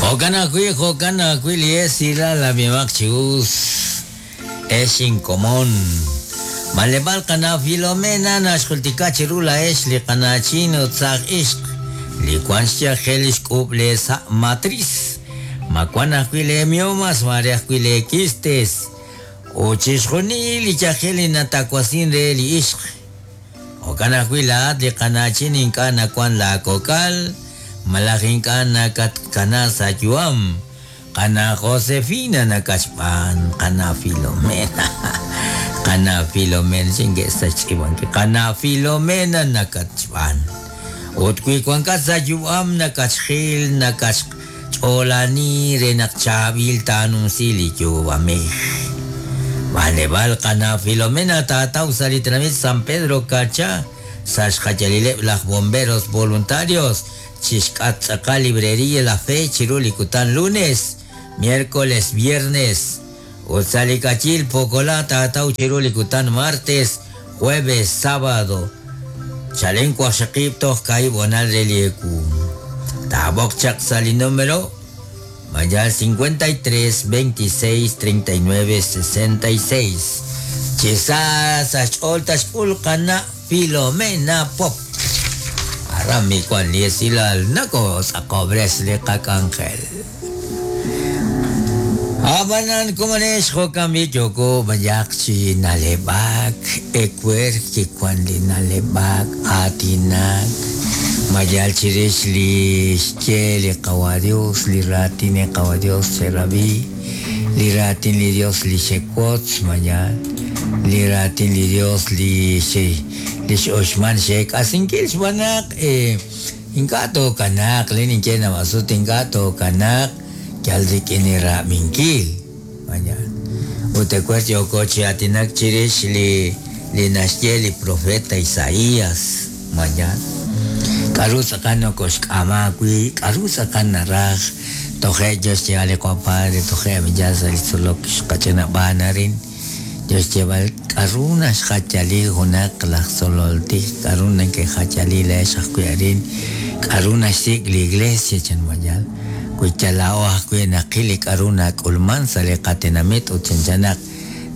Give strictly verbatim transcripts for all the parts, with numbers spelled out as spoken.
Jo'kan ajwi', jo'kan ajwi' li esilal ab'imaq chi us ex inkomon. Maleb'al qana Filomena naxjultika chiru laex li qana'chin ut saaj ixq li wan xyajel li xk'ub' le sa' matriz. Ma wan ajwi' le miomas, mare ajwi' le quistes. Ut chixjunil li yajel li natawasin re li ixq. Jo'kan ajwi' laat li qana'chin ink'a' nawan laakokal, malaj ink'a' nakatkana sa' yu'am. Qana Josefina nakachb'aan, qana Filomena. Qana Filomena xinge sa' xtz'iib'ankil. Qana Filomena nakachb'aan. Ut wi wankat sa' yu'am nakachjil, nakachch'oolani re naq chaab'il taanumsi li yu'amej. Maleb'al qana Filomena taataw sa' li tenamit San Pedro Carchá, sa' xjayalileb' laj bomberos voluntarios, chixk'at tz'aqal librería La Fe chiru li kutan lunes, miércoles, viernes. Ut sa' li kachil Pokolá taataw chiru li kutan martes, jueves, sábado. Chalen waqxaqib' toj kaahib' honal re li ewu. Taab'oq chaq sa' li número mayal cincuenta y tres, veintiséis, treinta y nueve, sesenta y seis. Chisa sa xch'ool taxk'ul qana Filomena Pop. Arami kwan li esilal nako sa kobres li qak'anjel. Abanan kumanex jo'kan b'i yoko bayak chi naleb'ak, ekwer kikwan li naleb'ak, atinak, mayal chirix li xye li qawa Dios, li raatin li qawa Dios xerabi, li raatin li Dios li xekwotz mayal, li raatin li Dios li xe li x'oxman xeek'asinkil xb'aan eh ink'a' tookanaq li ninye nawasut ink'a' tookanaq yal rik'in li ra'b'inkil mayal. Ut ekwer yoko chi atinak chirix li li naxye li profeta Isaías mayal. K'aru tz'aqal nokoxk'ama wi', k'aru tz'aqal naraj, toje' Dios xyeeb'al li qapadre, toje' ya sa' li tzolok xqach'inab'aan arin. Dios xyeeb'al k'aru naxjachali junaq laj tzolol tij, k'aru nakejachali leex ajwi' arin, k'aru naxsik' li iglesia chan mayal. Wi yala'o ajwi' naqil li k'aru nak'ulman sa' li qatenamit ut chanchanaq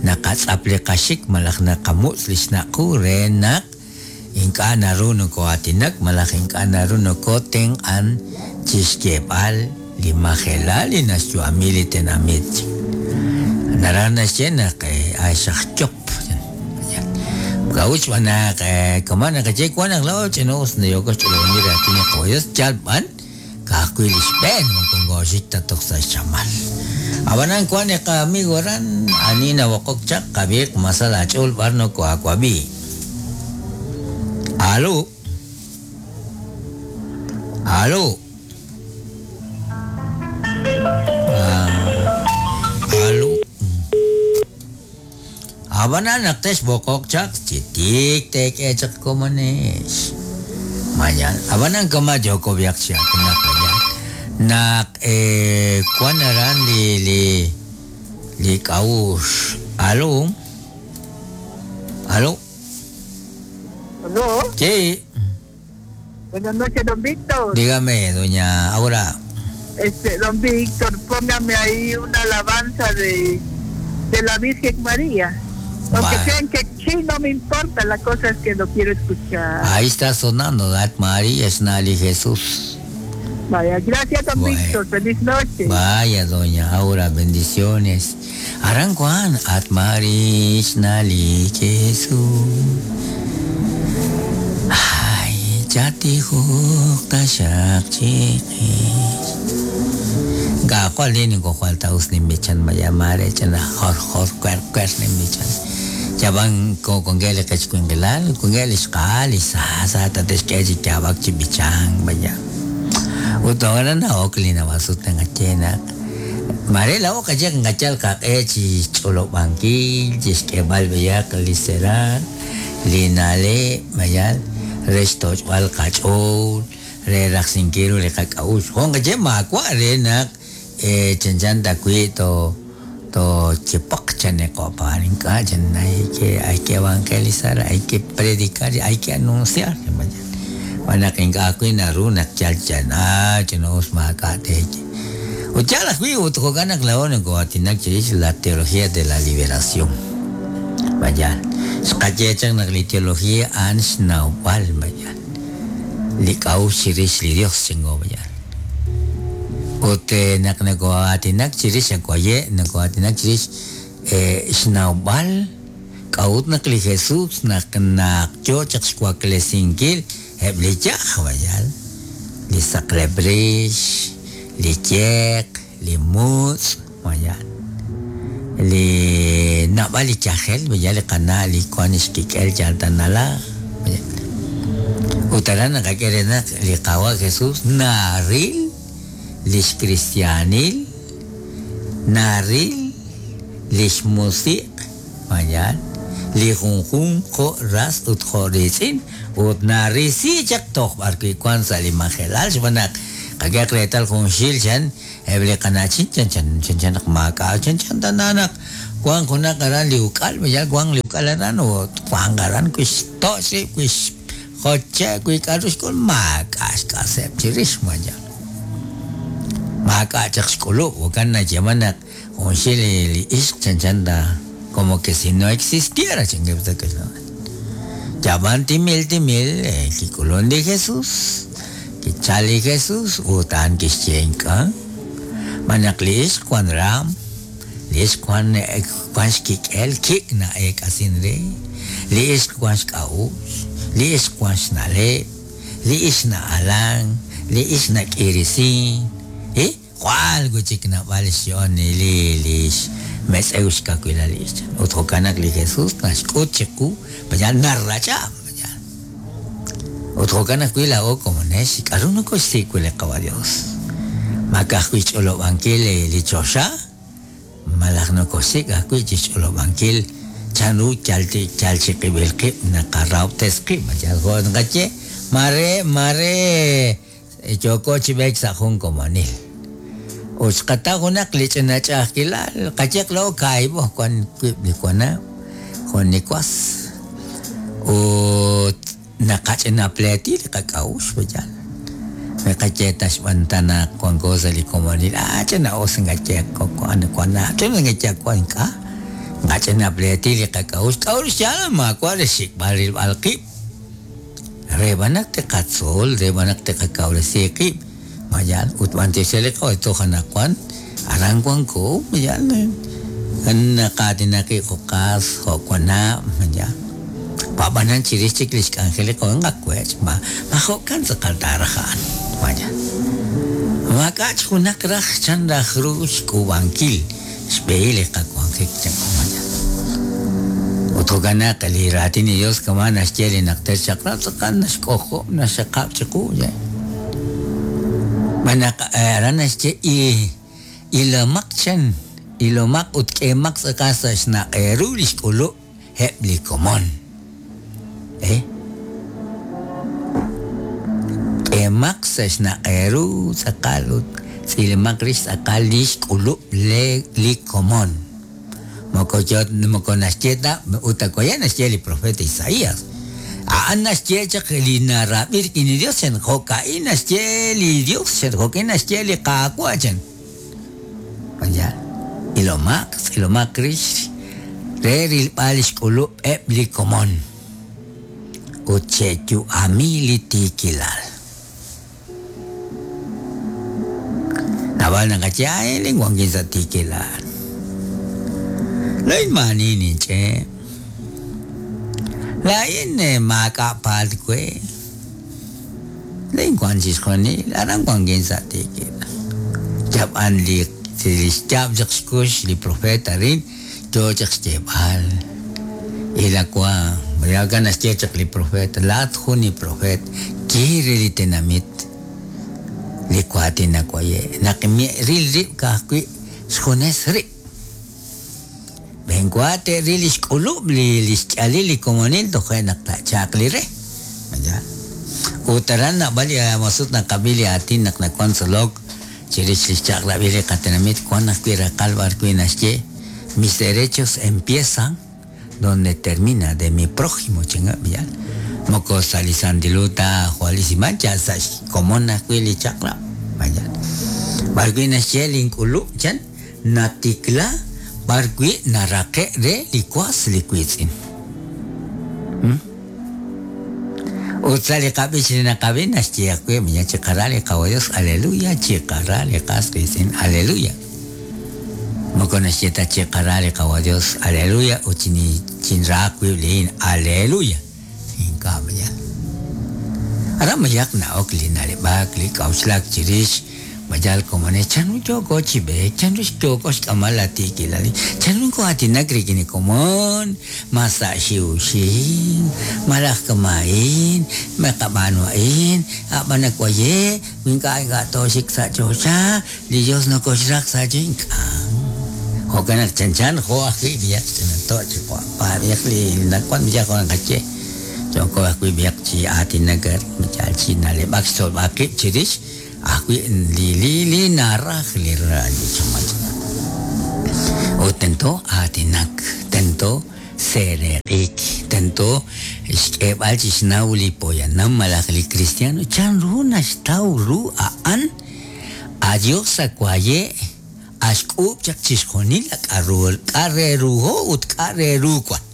naqatz'ap li qaxik malaj naqamutz' li xnaq'u re naq ink'a' naru noko'aatinak malaj ink'a' naru nokotenq'an chixyeeb'al li majelal li naxyu'ami li tenamit. Naraj naxye naq axaqchop. K'a'ut xb'aan naq kama naqaye wan naq la'o ch'inus nayoko xch'olob'ankil raatin li qawa Dios yal b'an ka'ajwi' li xb'een moko ngoxik ta toj sa' xchamal. Ab'anan wan li qamigo aran ani nawoqok chaq qab'iiq masal aach'ool b'ar noko'aawab'i. Aló. Aló. Ah, aló. Abanan naq texb'oqok chaq chitik tek'e chaq komonex. Mayan, abanan kama yoko biak chi atinak mayan. Naq eh kwan aran li li li k'a'ux. Aló. Aló. ¿Aló? Sí. Buenas noches, don Víctor. Dígame, doña Aura. Este, don Víctor, póngame ahí una alabanza de, de la Virgen María. Aunque sean que sí, no me importa, la cosa es que lo quiero escuchar. Ahí está sonando, Dat María, Esnali Jesús. Vaya, gracias, don Bueno. Víctor, feliz noche. Vaya, doña Aura, bendiciones. Aran Juan, At María, Esnali Jesús. Ay, ya te taxaq chiqis. Ga cual ni ko cual taus ni michan mayamare chan jor jor cuer cuer ni michan. Ya van con con gele quechcuinguelal, con gele xqal y sa sa ta tesquechi chabak chibichan vaya. Utogana na oklina basuta ngachena. Marela oka ya ngachal ka echi cholo banquil, chisquebal beyak lisera, linale mayal, resto wal kachol, re raxinquiru le kakaush. Honga ye makwa re nak eh chanchan tacuito to chipok chanecoparinca, hay que hay que evangelizar, hay que predicar, hay que anunciar. Manaking ako'y narunak chalchan, ah, chinos makate. Ut yaal ajwi' ut jo'kan naq laa'o nako'aatinak chirix la teología de la liberación. Vaya, xqaye chaq naq li teología a'an xnawb'al, vaya. Li k'a'uxl chirix li Dios chingo, vaya. Ut naq nako'aatinak chirix akuaye, nako'aatinak chirix xnawb'al k'a'ut naq li Jesús naq naq yo chaq xwaklesinkil eb' li yaj, vaya. Li saqleb' rix, li yeq, li mutz', vaya. Li nab'al li yajel, vaya li qana' li kuan xkik'el yal tanala, vaya. Ut aran naqak'e re naq li Qawa' Jesús naril lix cristianil, naril lix musiq, vaya, li junjun jo' ras ut jo' riitz'in, ut narisi chaq toj b'ar wi' wan sa' li majelal, xb'aan naq qak'ehaq reetal jun xil chan eb' li qana'chin chan chan chan chan naq maak'a' chan chan tana naq wan junaq aran li uk'al, vaya, wan li uk'al aran ut wan aran kuix to'x rib', kuix joche' wi' k'a'ru xk'ul maak'a' xk'aseb' chirix, vaya. Maak'a' chaq xk'ulub', jo'kan nayeeman naq jun xil li ixq chan chan ta como que si no existiera, chan que Yaban timil timil, kik'ulun li Jesús, kichal li Jesús, ut a'an kixye ink'a'. Manaq li ixq wan ram, li ixq wan wan xkik'el, kik' na'eek'asin re, li ixq wan xk'a'uxl, li ixq wan xna'leb', li ixq na'alan, li ixq nak'irisin, eh? Jwal wi'chik nab'al xyo'on li li metz'ew xkawilal li ixq. Ut jo'kan naq li Jesús naxk'ut chiqu, vaya narrach'a, vaya. Ut jo'kan ajwi' laa'o komonex, k'a'ru nokoxsik' wi' li Qawa' Dios. Maak'a' ajwi' xch'olob'ankil li choxa, malaj nokoxsik' ajwi' chixch'olob'ankil chanru yal yal chiqib'il qib' naqarahob'tes qib', vaya jo' naqaye, mare mare yooko chi b'eek sa' jun komonil. Ut xqataw junaq li ch'ina ch'a'ajkilal, qayeq laa'o kaahib'o wan wib' li wanab', jun li was. Ut naqach'ina pleeti li qak'a'uxl, vaya. Naqaye ta xb'aan ta naq wanko sa' li komonil, ah, ch'ina us nqaye wan wanab', ch'ina nqaye wan ink'a'. Nqach'ina pleeti li qak'a'uxl, k'a'uxl xyaal maawa' re xik'b'al rilb'al qib'. Re b'an naq teqatzol, re b'an naq teqakawresi qib'. Vaya, ut b'an tixye li qawa' toj anaqwan, aran wanko, vaya, naqaatinaqi jo'qas, jo'wanab', vaya. Pab'anan chirix chik li xk'anjel li qawa' nqakwech', ma ma jo'kan tz'aqal taaraj a'an, vaya. Maak'a' junaq raj chan raj ru xk'uub'ankil xb'ehil li qawanjik chan, vaya. Ut jo'kan naq li raatin li Dios kama naxye li naqter chaq'rab' tz'aqal naxk'ojob' naxaqab' chiqu, ya. Manaq aran naxye ilomaq chan, ilomaq ut k'emaq tz'aqal sa' xnaq'eru li xk'ulub' eb' li komon. Eh? K'emaq sa' xnaq'eru tz'aqal ut tz'ilmaq rix tz'aqal li xk'ulub' le li komon. Moko yo moko naxye ta ut akoya naxye li profeta Isaías. A'an naxye chaq li narab'i rik'in li Dios chan jo'ka'in naxye li Dios chan jo'ka'in naxye li Qaawa' chan. Vaya, ilomaq, tz'ilomaq rix re rilb'al li xk'ulub' eb' li komon. Ut che'yu'ami li tiikilal. Nab'al naqaye, ay, lin wankin sa' tiikilal. Lain maani ninch'e. Lain maak'a' paal we. Lain wan chixjunil, aran wankin sa' tiikilal. Yab'an li li xyaab' chaq xkux li profeta rin, yo chaq xyeeb'al. Ilakwa, vaya naxye chaq li profeta, laat jun li profet, quiere li tenamit, li waatin nawaye. Naq ril rib' ka'ajwi' xjunes rib'. Benwa te'ril li xk'ulub' li li xch'alil li komonil toje' naq tachaaq li re. Vaya. Ut aran nab'al li masut naqab'i li aatin naq nawan tzolok chirix li xchaq'rab'il li qatenamit wan ajwi' raqal b'ar wi' naxye mis derechos empiezan donde termina de mi prójimo chinga, vaya. Moko sa' li santilu ta jwalisiman ya sa' xkomon ajwi' li chaq'rab', vaya. B'arwi' naxye link'ulub' chan natikla b'arwi' naraqe' re li was li wiitz'in. Ut sa' li qab'ich li naqab'i naxye ajwi' miya chiqara li qawa Dios, aleluya, chiqara li qas qiitz'in, aleluya. Moko naxye ta chiqara li qawa Dios, aleluya, ut chinraaq wib' liin, aleluya. Ink'a' maya. Ara mayaq na'ok li naleb'ak li k'auxlak chirix mayal komone chanru yooko chi b'eek, chanru yooko xk'amal la tiikilal, chanru nko'aatinak rik'in li komon, ma sa' xiwxiw, malaj kama'in, ma qab'aanu a'in, a'b'an nawaye, ink'a' ink'a' tooxik sa' choxa, li Dios nokoxraq sa' chi ink'a'. Jo'kan naq chanchan jo' ajwi' b'iyaq ch'inanto' chi paab'iyaq li nawan b'iyaq jo' naqaye. Yooko ajwi' b'iyaq chi aatinak mayal chi naleb'ak xtzolb'al qib' chirix ajwi' li li li naraj li li chamach. Ut tento aatinak, tento sereq'ik, tento xk'eeb'al chi xnaw li poyanam malaj li cristiano chanru naxtaw ru a'an a Dios akwaye axk'uub' chaq chixjunil la k'aru k'a' re ruho ut k'a' re ru wan.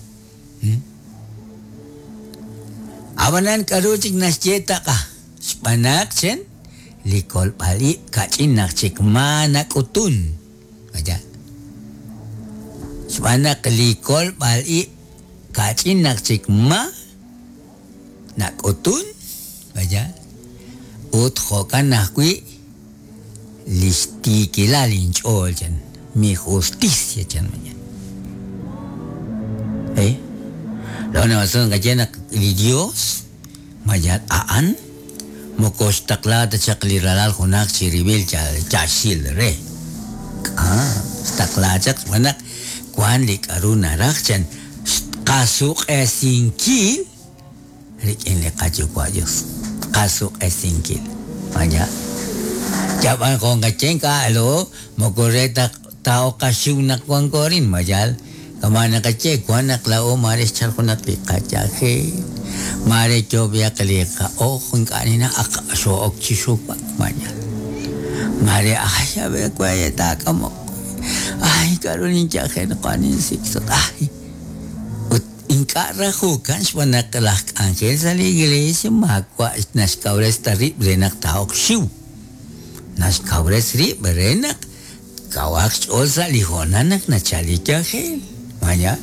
Ab'anan k'aru chik naxye taqa xb'anaq chen li kolb'al ib' kach'in naq chik ma nak'utun. Vaya. Xb'anaq li kolb'al ib' kach'in naq chik ma nak'utun. Vaya. Ut jo'kan ajwi' li xtiikilal inch'ool chan mi justicia chan mañana. Eh? Lo na qaye naq li Dios mayal a'an moko xtaqla ta chaq li ralal junaq chiribil chaxil re. Ah, xtaqla chaq xb'anaq wan li k'aru naraj chan qasuq'esinkil rik'in li qayuwa' Dios. Qasuq'esinkil. Vaya. Yab'an jon qachen k'a'lo moko re ta ta'o qaxiw naq wan korin mayal kama naqaye wan naq la'o mare xchal junaq li qayaje mare yoob'iyaq li qa'oj ink'a' nina aq xo'ok chi xuwak mayal mare ay a ver kwaye taak'amoq ay k'aru ninyaje naqwan ninsiksot ay ut ink'a' rajukan xb'anaq laj k'anjel sa' li iglesia maawa' naxkawres ta rib' re naq ta'oq xiw naxkawres rib' re naq kawaq xch'ool sa' li hoonal naq nachal li yajel. Vaya.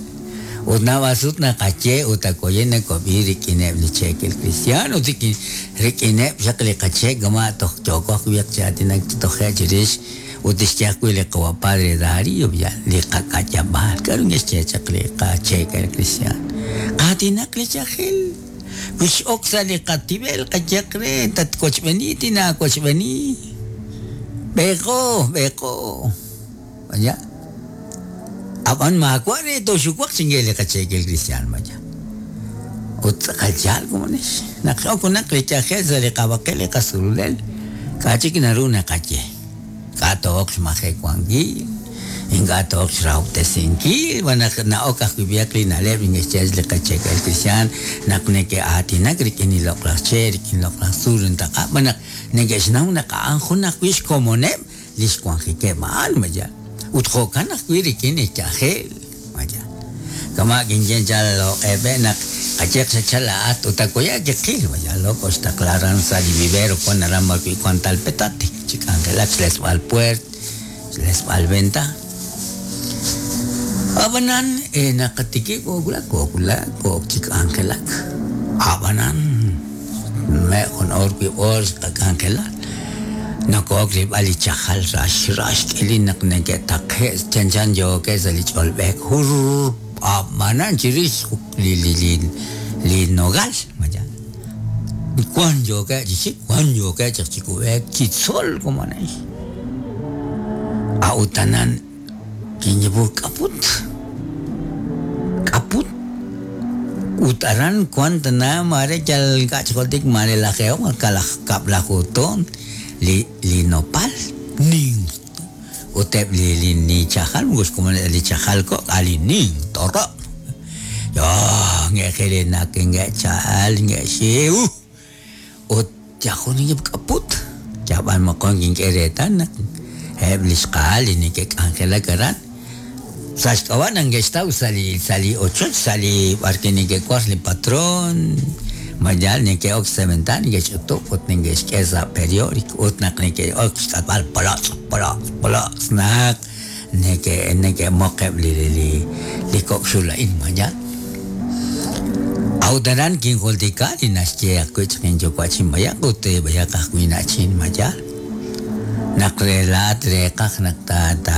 Ut nab'asut naqaye ut akoye nakob'i rik'ineb' li cheekel cristiano rik'in rik'ineb' xaq li qache' kama toj yooko ajwi' chi aatinak chi toje' chirix ut tixye ajwi' li qawa padre Darío ya li qak'ayab'al k'aru nge'xye chaq li qacheekel cristiano qaatinak li yajel wix ok sa' li qatib'el qayaq re tatkochb'eni tinaakochb'eni b'eeqo b'eeqo. Vaya. Ab'an maawa' re toxuwaq chinge li qacheekel cristiano maya. Ut tz'aqal komonex naq ok junaq li yajel sa' li qab'aqel li qasululel k'a' chik naru naqaye k'a' to'ok xmajewankil ink'a' to'ok xrahob'tesinkil b'anaq na'ok ajwi' b'iyaq li na'leb' nge'xye li qacheekel cristiano naq neke'aatinak rik'in li loq'laj che' rik'in loq'laj tzuul ntaqa' b'anaq neke'xnaw naq a'an jun ajwi' xkomoneb' li xwanjikeb' a'an maya. Ut jo'kan ajwi' rik'in li yajel maya. Kama kinyen chal loq'eb'e naq qayeq xachal la'at ut akoya kiqil maya loko xtaqlaran sa' li vivero wan aran b'arwi' wan talpetate chi k'anjelak xlesb'al puert xlesb'al venta. Ab'anan eh, naqatikib' koowulak koowulak kook chi k'anjelak ab'anan me jun or wib' or xqak'anjelak nakook rilb'al li chajal rax rax k'ilin naq neke'taqe' chanchan yookeb' sa' li ch'olb'eek jur ab'anan chirix li li li li nogal maya wan yookeb' chi xik wan yookeb' chaq chi kub'eek chi tzol komonex a'utanan kinyebu k'aput k'aput ut aran wan tana mare yal k'achjoltik mare lajeoq kalaj kab'lajuton li li nopal nin uteb' li li ni chajal moko xkomon li chajal kok' ali nin toro yo nge'jele naq nge'chal nge'xiw ut yajun yib' k'aput yab'an moqon kink'e reetal naq eb' li xqa'al li neke'k'anjelak aran sa' xk'ab'a' neke'xtaw sa' li sa' li ochoch sa' li b'arwi' neke'war li patrón mayal neke'ok sementar neke'xch'utub' ut neke'xk'e sa' periódico ut naq neke'ok xk'atb'al polotz' polotz' polotz' naq neke neke'moqeb' li li li kok' xul a'in mayal A'ut aran kinjultika li naxye ajwi' chaq inyuwa'chin bayaq ut bayaq ajwi' na'chin mayal naq re laat reeqaj naq ta ta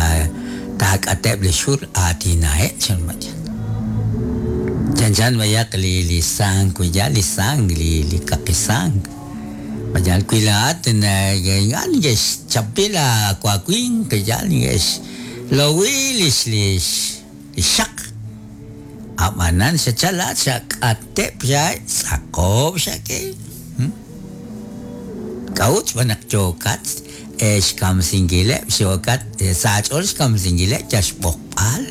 taak'ateb' li xul aatinaheb' chan mayal chanchan bayaq li li sang mayal li sang li li kaqi sang mayal wi laat ink'a' neke'xchapi laawaawin yal neke'xlowi lix lix li xaq ab'anan xachal laat xak'ateb' xa tz'aqob' xak'e k'a'ut xb'aan naq yookat xkamsinkileb' xyookat saach'ool xkamsinkileb' yal xb'oqb'al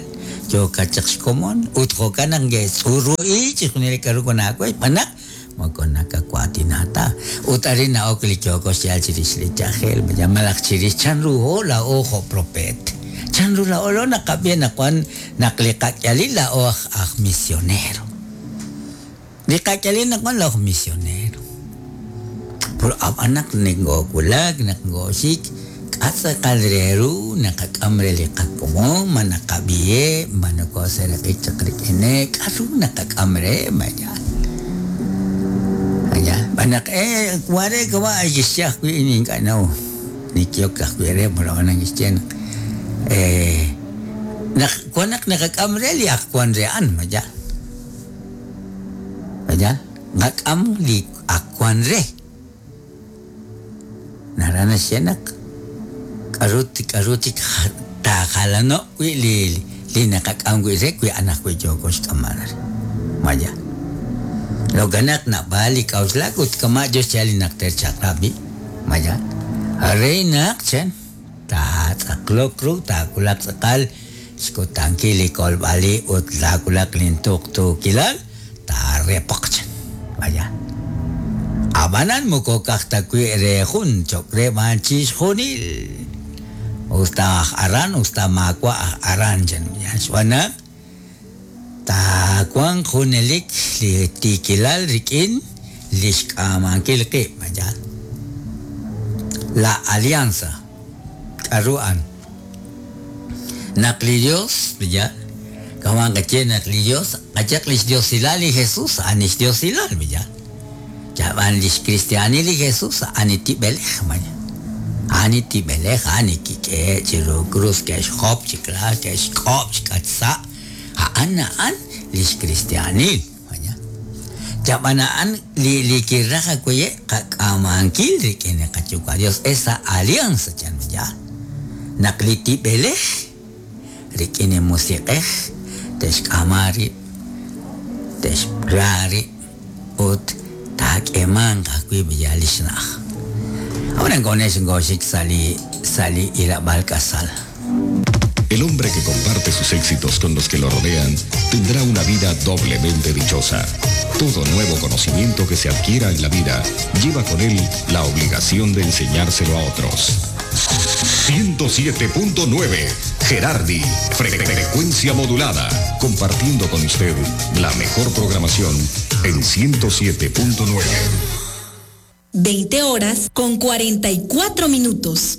yookat chaq xkomon ut jo'kan naq nge'tz'uru'i chixjunil li k'aru wan aawe xb'aan naq moko nakawaatina ta ut arin na'ok li yooko xyaal chirix li yajel malaj chirix chanru ho laa'o jo' propeet chanru laa'o lo naqab'i naq wan naq li qak'alil laa'o aj aj misionero li qak'alil naq wan laa'o aj misionero pero ab'an naq nekoowulak naq ngooxik k'a' tz'aqal re ru naqak'am re li qakomon ma naqab'iheb' ma nokooseeraq'ik chaq rik'ineb' k'aru naqak'am re mayal mayal b'an naq eh ware kawa kixye ajwi' ink'a' naw nikiyok ajwi' re pero ab'anan kixye naq eh naq wan naq naqak'am re li ak wan re a'an mayal mayal naqak'am li ak wan re naraj naxye naq k'aru k'aru chik taajalano' wi' li li naqak'am wi' re wi' a'an ajwi' yooko xk'amb'al re maya lokanaq nab'al li k'a'uxlak ut kama' yo xyaal li najter chaq'rab' maya re naq chan taatz'aqlok ru taawulaq tz'aqal xkutankil li kolb'ali ut taawulaq lintuqtuukilal taarepoq chan maya ab'anan moko ka'aj ta wi' re jun cho'q re b'an chixjunil usta aj aran usta maawa' aj aran chan xb'aan naq taawanq junelik li tiikilal rik'in li xk'aamankil qib' mayal la alianza k'aru a'an naq li Dios mayal kawan qaye naq li Dios qayaq li xdiosilal li Jesús a'an li xdiosilal mayal yab'an li xkristianil li Jesús a'an li tib'elej mayal a'an li tib'elej a'an li kik'e' chiru cruz ke'xjop chikla ke'xk'ob' chik'atsa' a'an a'an li xkristianil mayal yab'an a'an li li kiraj ajwi' qak'aamankil rik'in li qayuwa' Dios esa alianza chan mayal naq li tib'elej rik'in li musiq'ej te'xk'ama rib' te'xra rib' ut taak'emanq ajwi' b'iyal li xna'aj ahora ngonex ngoxik sa' li sa' li ilab'al k'asal. El hombre que comparte sus éxitos con los que lo rodean tendrá una vida doblemente dichosa. Todo nuevo conocimiento que se adquiera en la vida lleva con él la obligación de enseñárselo a otros. ciento siete punto nueve Gerardi, frecuencia modulada, compartiendo con usted la mejor programación en ciento siete punto nueve. veinte horas con cuarenta y cuatro minutos.